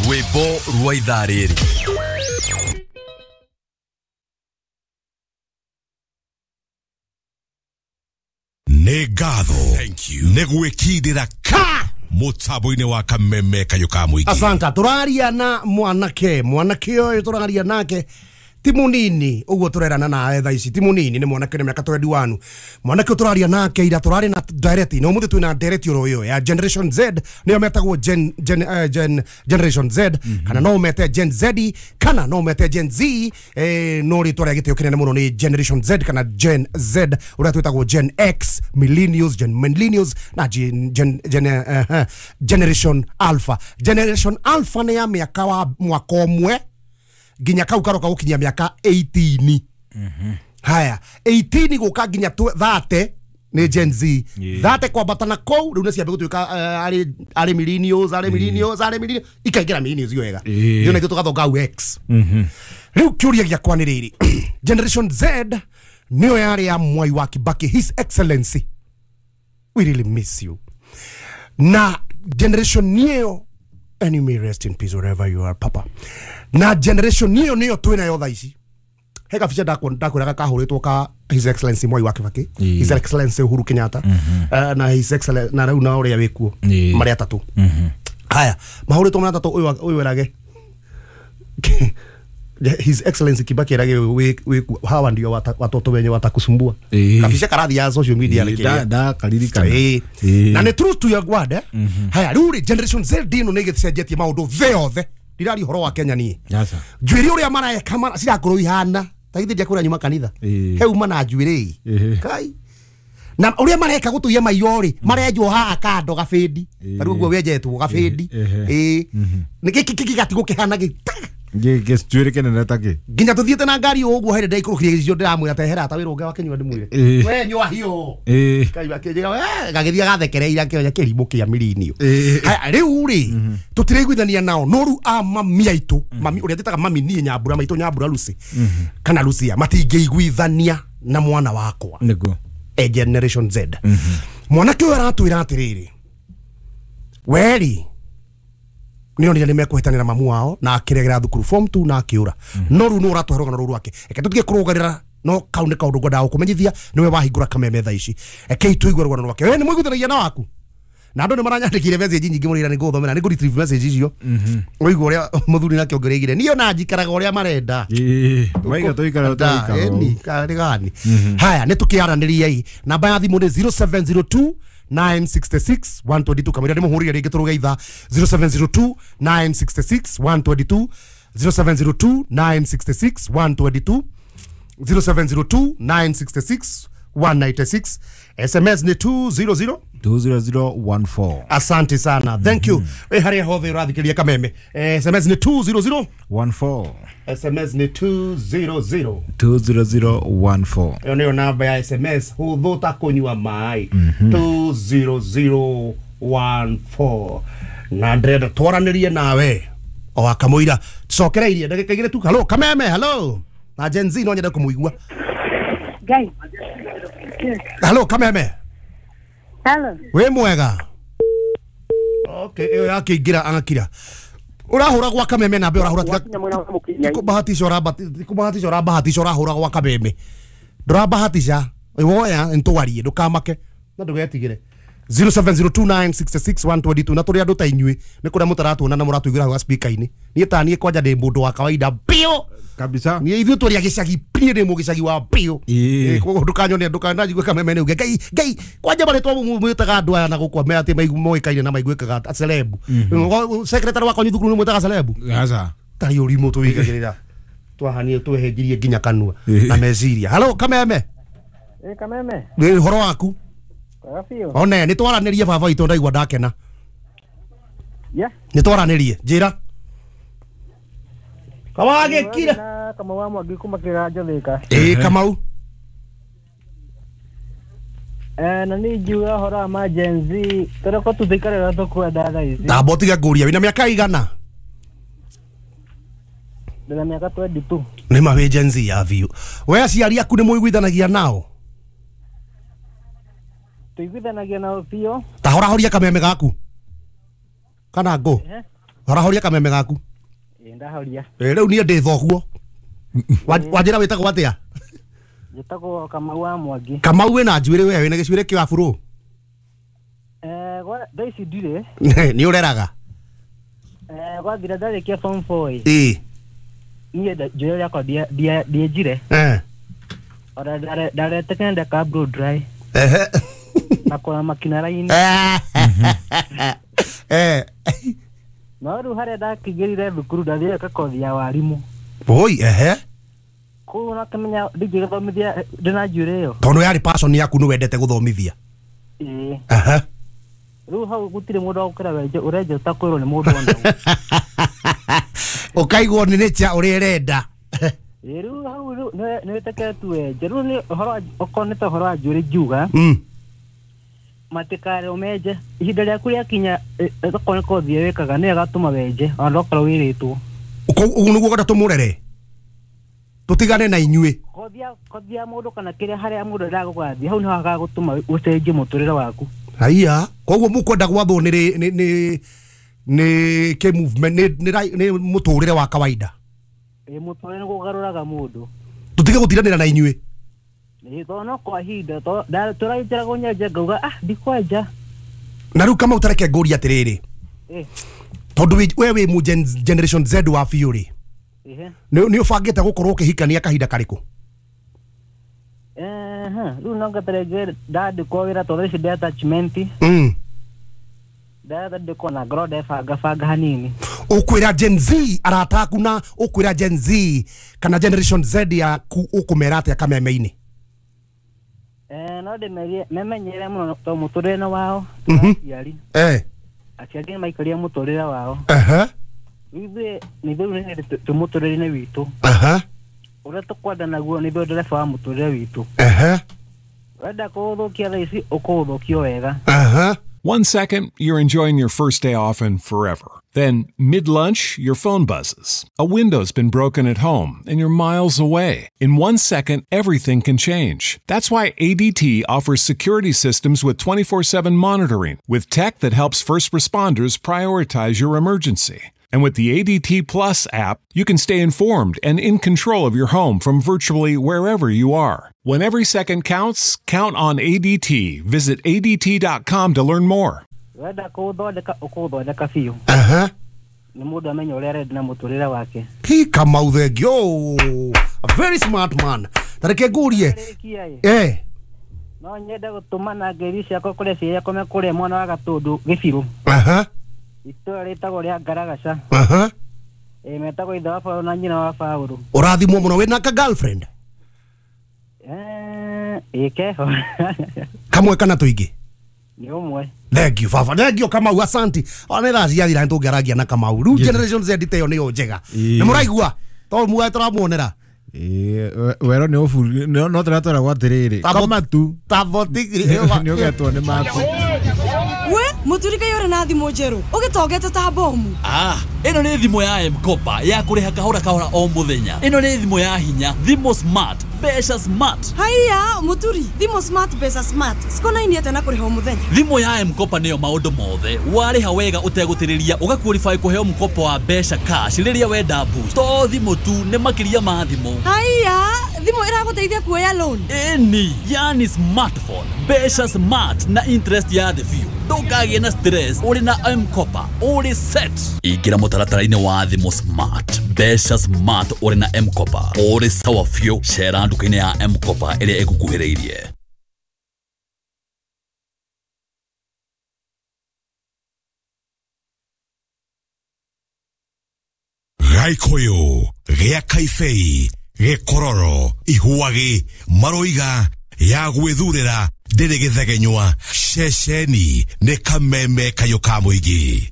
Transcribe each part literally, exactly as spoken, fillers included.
Rwĩmbo rwa ithaa rĩrĩ. Nĩ ngatho nĩ gwĩkindĩra ka mũtambo-inĩ wa Kameme Kayũ ka Mũingĩ. Asanta, tũraria na mwanake mwanake ũyũ tũraria nake ti munini ũguo tũrerana nawe thaa ici ti munini nĩ mwanake nĩ mĩaka twenty-one. Mwanake ũyũ tũraria nake ira tũrarĩ na direct na ũmũthĩ twĩna direct oro ĩyo ya Generation Z, nĩyo metagwo Gen, Gen, uh, Gen, Generation Z. mm -hmm. Kana no mete Gen Z kana no mete Gen Z, eh, no rĩtwa rĩa gĩtĩo kĩnene mũno nĩ Generation Z kana Gen Z, ũrĩa twĩtagwo Gen X, Millennials, Gen Millennials na Gen, Gen, Gen, uh, uh, Generation Alpha. Generation Alpha nĩ ya mĩaka wa mwaka ũmwe nginya kau karoka gukinyia miaka eighteen. Mm-hmm. Haya, eighteen guka nginya thirty ni Gen Z. Yeah. thirty kwambata na kou riu nĩ ciambe gutuika ari ari millennials, ari millennials, ari millennials ikaingĩra millennials wega. Ndio na tũgathonga au X. Mhm. Riu kĩũria gĩakwa nĩ rĩrĩ. Generation Z nĩyo yarĩ ya Mwai wa Kibaki, His Excellency. We really miss you. Na generation nĩyo, and you may rest in peace wherever you are, papa. Na generation niyo niyo twina yo thaa ici. He kabica ndakwĩraga kahũrĩtwo ka His Excellency Mwai wa Kibaki, yeah. His Excellency Uhuru Kenyatta, mm -hmm. uh, na His Excellency na rĩu na ũrĩa wĩkuo yeah. marĩa atatũ. mm -hmm. Haya, mahũrĩtwo marĩa atatũ ũyũ ũyũ erage His Excellency Kibaki erage wĩ hawa ndio watoto wenye watakusumbua. Yeah. Kabica karathi ya social media yeah, nĩ da da karirikana. Eh. Yeah. Na nĩ truth to your word eh. Mm -hmm. Haya, rĩu rĩ Generation Z ĩno nĩ ĩgĩcenjetie maũndũ thĩ yothe. Ndirari horo wa Kenya niĩ. Yasa. Njuĩrĩ ũrĩa mareka mara cirakorwo ihana ta githĩ ndiakwĩra nyuma kanitha. Eh. He uma na njuĩrĩ. Eh. Kai. Na ũrĩa mareka gũtũia maiyo rĩ, marenjwo haha kando gabĩndi. Ta rĩu ũguo wenjetwo gabĩndi. Eh. Ĩĩ. Nĩ gĩkĩ gĩgatigwo kĩhana gĩ. Gĩcuĩrĩ kĩnene ta kĩ. Nginya tũthiĩte na ngari ũguo hĩndĩ ndaikũrũkire gĩcicio ndĩramwĩra tehera ta wĩra ũngĩ wa kĩnyua ndĩmwĩre. Eh. We nyua hiyo. Eh. Kai akĩnjĩra we gagĩthiĩ agathekereire akĩoya kĩrimũ kĩa mirinio. Eh. Haya rĩu rĩ tũtiraiguithania nao no rĩu a mami aitũ, mami ũrĩa njĩtaga mami niĩ Nyambura maitũ Nyambura Lucy kana Lucia matingĩiguithania na mwana wakwa. Nĩguo. E Generation Z. Mwanake ũyũ aratwĩra atĩrĩrĩ, weri nĩ onire nĩ mekũhĩtanĩra mamu wao na akĩregera thukuru form two na akĩũra. No rĩu nĩ ũratwara rũgano rũu rwake. Reke tũtige kũrũgarĩra no kau nĩ kaũndũ ngwendaga gũkũmenyithia nĩwe wahingũra Kameme thaa ici. Rekei tũigue rũgano rwake. We nĩ mũiguithanagia na waku? Na andũ nĩ maranyandĩkire message nyingĩ mũno ira nĩ ngũthomera nĩ ngũ retrieve message icio. Ũigua ũrĩa mũthuri nake ongereire. Niĩ ona njikaraga ũrĩa marenda. Ĩĩ. Maiga tũikara tũikara. Ĩni karĩ gani. Haya nĩ tũkĩaranĩriei. Namba ya thimũ nĩ zero seven zero two nine six six one two two. Kamũira ndĩmũhũrĩre rĩngĩ tũrũge ithaa zero seven zero two nine six six one two two, zero seven zero two nine six six one two two, zero seven zero two nine six six one nine six. S M S ni two zero zero two zero zero one four. Asante sana. Thank you. We harĩa hothe ũrathikĩrĩria Kameme. Eh, S M S ni two zero zero one four. S M S ni two zero zero two zero zero one four. Ĩyo nĩyo namba ya S M S hũthũ ta kũnyua maĩ. two zero zero one four. Na ndĩrenda twaranĩrie nawe o akamũira cokereirie ndagĩka igĩrĩ tu. Hello Kameme, hello. Na Gen Z no nyende kũmũigua. Ngai. Hello Kameme. Hello. Wĩ mwega? Okay, ĩyo yakĩingĩra agakira. Ũrahũra gwa Kameme na ũrahũra tiga kũbahatisha ũrabahatisha ũrabahatisha ũrahũra gwa Kameme. Ndũrabahatisha woya ntwarie ndũkamake na ndũgetigĩre. zero seven zero two nine six six one two two na tũrĩ andũ ta inyuĩ nĩ kũrĩa mũtaratuona na mũratũiguĩra hau speaker-inĩ. Niĩ ta niĩ kwanja ndĩ mũndũ wa kawaida biũ kabisa. Niĩ ithuĩ tũrĩ a gĩcagi niĩ ndĩ mũgĩcagi wa biũ. Ĩĩ. Koguo ndũkanyone ndũkananjigue Kameme nĩ uge Ngai Ngai kwanja marĩtwa mwĩtaga andũ aya na gũkũ me atĩ moĩkaine na maiguĩkaga celeb. Secretary wakwa thukuru nĩ mwĩtaga celeb. Aca. Tarĩ ũrimũ tũigagĩrĩra twahanie twehenjirie nginya kanua na meciria. Hello Kameme. Ĩ Kameme. Nĩ ũhoro waku? One nĩ twaranĩrie baba witũ ndaigua ndakena. Yeah. Nĩ twaranĩrie njĩra. Kawagĩkira. Kamau wa Mwangi kuma Kĩganjo Thĩka. Ĩĩ Kamau. Eh na nĩ ngiuga ũhoro wa ma Gen Z tũreko tũthikarĩra tũkwenda thaa ici. Ndamba ũtige ngũria wĩna mĩaka igana? Ndĩna mĩaka twenty-two. Nĩ ma wĩ Gen Z ya biũ. We aciari aku nĩ mũiguithanagia nao? Tũiguithanagia nao biũ. Ta horahoria kameme gaku. Kana ngũ? Horahoria kameme gaku. Ĩ ndahoria. Ĩ rĩu niĩ ndĩ thoguo. Wanjĩra wĩtagwo atĩa? Njĩtagwo Kamau wa Mwangi. Kamau wĩna njuĩrĩ we wĩna gĩcuĩrĩ kĩa burũ? Eh gwa thaa ici ndirĩ. Nĩ ũreraga? Eh gwathira ndarĩkia form four ĩ. Ĩ. Niĩ njuĩrĩ yakwa ndienjire. Eh. Ora ndarete kenda ka blow dry. Ehe. Na kora makina raini. Eh. No rĩu harĩa ndakĩingĩrire thukuru ndathire kothi ya warimu. Oi ehe. Kũu nakĩmenya ndingĩgĩthomithia ndĩna njuĩrĩ ĩyo. Tondũ yarĩ passion yaku nĩ wendete gũthomithia. Ĩĩ. Ehe. Rĩu hau gũtirĩ mũndũ wa gũkĩra wenje ũrenja ũtakwĩrwo nĩ mũndũ ona ũ. Ũkaigwo nĩ nature ũrĩa ĩrenda. Ĩĩ rĩu hau rĩu nĩ wĩtĩkĩre tu wenje. Rĩu nĩ ũhoro okorwo nĩ ta ũhoro wa njuĩrĩ ngiuga. Mm. Matikare ũmenje ihinda rĩaku rĩakinya okorwo nĩ kothi ĩyo wĩkaga nĩyo ĩgatũma wenje ona ndũgakorwo wĩrĩtwo. Ũguo nĩguo ũkwenda tũmũrere? Tũtigane na inyuĩ. Kothi ya kothi ya mũndũ kana kĩrĩa harĩa mũndũ endaga gũgathiĩ hau nĩho hagagũtũma ũcenjie mũtũrĩre waku. Haiya, koguo mũkwenda gwathwo nĩ nĩ nĩ nĩ kĩ movement nĩ nĩ nĩ mũtũrĩre wa kawaida. Ĩ mũtũrĩre nĩguo ũgarũraga mũndũ. Tũtige gũtiranĩra na inyuĩ. Ĩ tondũ no kwa ihinda tũrainjĩra kũnyenja ngauga ah ndikwenja. Na rĩu Kamau tareke ngũrie atĩrĩrĩ. Ĩ. Tondũ we wĩ mu generation Z wa biũ rĩ. Ĩhĩ. Nĩ ũbangĩte gũkorwo ũkĩhikania kahinda karĩkũ? Eh, rĩu no ngeterere ndandĩkwo wĩra tondũ ici ndĩ attachment. Mm. Ndandĩkwo na ngorwo ndebanga banga hanini. Ũkwĩra Gen Z arata aku na ũkwĩra Gen Z kana generation Z yaku ũkũmera atĩa kameme-inĩ? Eh, no ndĩmerie memenyere mũno tondũ mũtũrĩre wao aciari. Eh. Aciari nĩ maikaria mũtũrĩre wao. Aha. Ithuĩ nĩ ithuĩ nĩ twĩ mũtũrĩre-inĩ witũ. Aha. Ũrĩa tũkwenda naguo nĩ ithuĩ ndereba wa mũtũrĩre witũ. Aha. Wenda kũũthũkia thaa ici ũkũũthũkio wega. Aha. One second, you're enjoying your first day off and forever. Then, mid-lunch, your phone buzzes. A window's been broken at home, and you're miles away. In one second, everything can change. That's why A D T offers security systems with twenty-four seven monitoring, with tech that helps first responders prioritize your emergency. And with the A D T Plus app, you can stay informed and in control of your home from virtually wherever you are. When every second counts, count on A D T. Visit A D T dot com to learn more. Wenda kũũthondeka ũkũũthondeka biũ. Aha. Nĩ mũndũ amenye ũrĩa arenda na mũtũrĩre wake. Hi Kamau thengio. A very smart man. Tareke ngũrie. Eh. No nyende gũtũmana ngeithi ciakwa kũrĩ ciĩ yakwa mekũrĩa mwana wa Gatũndũ Gĩbirũ. Aha. Itũra rĩtagwo rĩa Ngaragaca. Aha. Ĩ metagwo ithe wa Paũlũ na nyina wa Paũlũ. Ũrathimwo mũno wĩna ka girlfriend? Eh, ĩ keho. Kamwe kana tũingĩ? Nĩ ũmwe. Thank you baba. Thank you Kamau, asanti. Ona thaa ciathira nĩ tũngĩaragia na Kamau. Rĩu generation Z te ĩyo nĩyo njega. Nĩ mũraigua? Tondũ mugae tũramuonera. Ĩ wero nĩ ũburi no tũratwaragwo atĩrĩrĩ. Koma tu. Nĩ ũgetwo nĩ maku. We muturika yore na thimũ njerũ ũgĩtongete ta bomu. Ah, ĩno nĩ thimũ ya M-Kopa ya kũrĩha kahora kahora o mũthenya. Ĩno nĩ thimũ ya hinya, thimũ smart, mbeca smart. Haiya muturi, thimũ smart mbeca smart cikonainie atĩa na kũrĩha o mũthenya? Thimũ ya M-Kopa nĩyo maũndũ mothe. Warĩha wega ũtegũtĩrĩria ũgaqualify kũheo mkopo wa mbeca cash rĩrĩa wenda boost. To thimũ tu nĩ makĩria ma thimũ. Haiya, thimũ ĩragũteithia kuoya loan. Ĩni, yani smartphone, mbeca smart na interest ya thĩ biũ. Ndũkagĩe na stress ũrĩ na M-Kopa, ũrĩ set. Ingĩra mũtaratara-inĩ wa thimũ smart, mbeca smart ũrĩ na M-Kopa, ũrĩ sawa biũ. Cera nduka-inĩ ya M-Kopa ĩrĩa ĩgũkuhĩrĩirie. Gaikoyo, gĩa kaibei, gĩkororo, ihuagi, maroiga, ya gwĩthurĩra ndĩrĩ gĩthegenywa, ceceni nĩ kameme kayũ ka mũingĩ.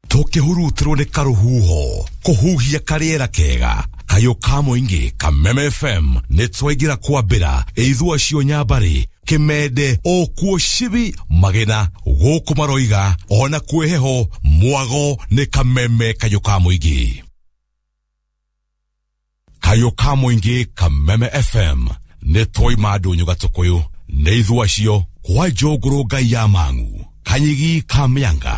Tũkĩhurutirwo nĩ karũhuho, kũhuhia karĩera kega, kayũ ka mũingĩ Kameme F M nĩ twaingĩra kwambĩra ithua cio nyambarĩ kĩmende okuo cibi magena gũkũ maroiga ona kwĩ heho mwago nĩ kameme kayũ ka mũingĩ. Kayũ ka mũingĩ Kameme F M nĩ twaima ndũnyũ gatũkũyũ nĩ ithua cio kwa njũngũrũ ngai ya mang'u kanyigi ka mĩanga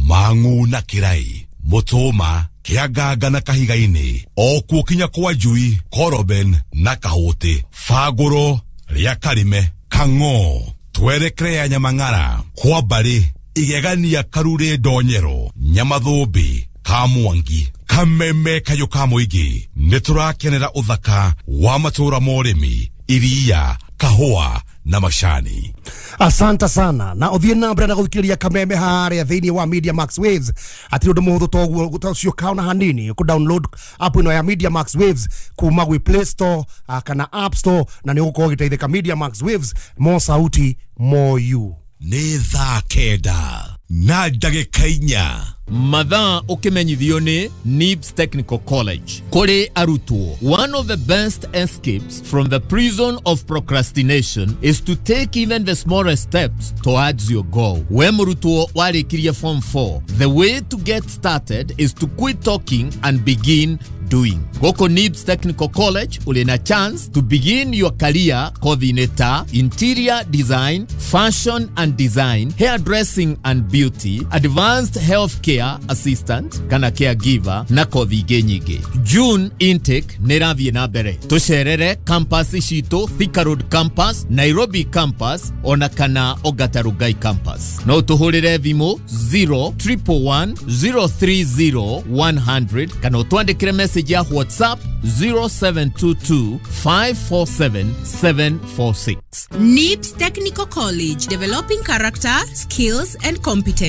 Mang'u na Kĩrai, Mũtũma, Kĩanganga na Kahiga-inĩ, o kuo kinya kwa Njui, Koroben na Kahũtĩ, Bangũro rĩa Karime, Kang'o, twerekere ya Nyamang'ara, kwa Mbarĩ, Igegania, Karurĩ, Ndonyero, Nyamathũmbĩ, Kamwangi, Kameme kayũ ka mũingĩ. Nĩ tũrakenera ũthaka wa matũũra ma ũrĩmi, iria, kahũa na macani. Asante sana na uthie na mbere na guthikiriria Kameme haria thiini wa Media Max Waves. Atiri undu muhuthu toguo ucio kaona hanini ku download app ino ya Media Max Waves kuma gwi Play Store kana App Store, na ni ugukorwo ugiteithika. Media Max Waves, mo sauti mo you. Nĩ thaa kenda na ndagĩka inya. Mathaa ũkĩmenyithio nĩ Nibs Technical College. Kũrĩ arutwo, one of the best escapes from the prison of procrastination is to take even the smallest steps towards your goal. We mũrutwo warĩkirie form four, the way to get started is to quit talking and begin doing. Goko Nibs Technical College uli na chance to begin your career kothi-inĩ ta interior design, fashion and design, hairdressing and beauty, advanced healthcare assistant kana caregiver na kothi ingĩ nyingĩ. June intake nĩ ĩrathiĩ na mbere. Tũcerere campus citũ, Thika Road campus, Nairobi campus ona kana Ongata Rongai campus. No tũhũrĩre thimũ zero triple one zero three zero one hundred kana ũtwandĩkĩre message ya WhatsApp zero seven two two five four seven seven four six. Nibs Technical College, developing character, skills and competence.